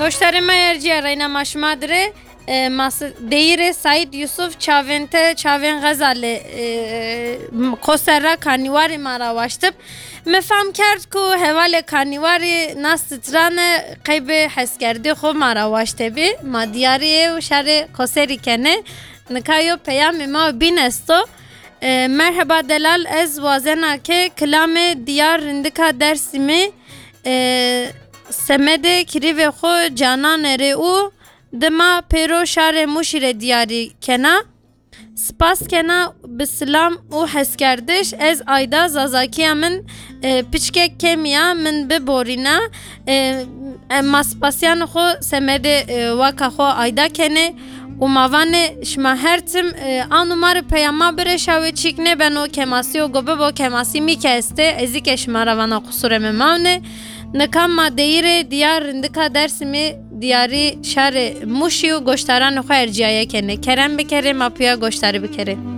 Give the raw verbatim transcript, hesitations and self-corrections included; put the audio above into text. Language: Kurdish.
Goştarê me erciye reyna ma şima dire. E, mas-, deyîrê Saîd Yusuf çavên te, çavên Xezalê, e, m-, Koserra Kanîwarê ma ra waştib. Me fam kerd ku hevalê Kanîwarî nas titran e, qeybê heskerdê xwe ma ra waşte bî. Ma diyariyê û şerê Koserî kene. Nika yo peyamê ma bîn esto. E, merheba delal, ez wazena ke kilamê diyar rindika Dersimê, e, semedê kirîvê xwe cananê rê û dima pêro şarê Mûşî rê diyarî kena. Spas kena bi silam û heskerdiş. Ez Ayda, Zazakiya min, e, piçkek kemiya, min biborîna. E, em ma spasiyan xwe semedê, e, waka xwe Ayda kenê û ma vanê şima her tim, e, an û ma re peyama bireşa wê çîk nêbeno kemasî û go bibo kemasî mî ke estê, ezî ke şima re vana qusurê me mawne. Nika ma deyîrê diyar rindika Dersimê diyarî şarê Mûşî û goştaranê xwe erciyaye kenê. Kerem bikerê, ma piya goştarî bikerê.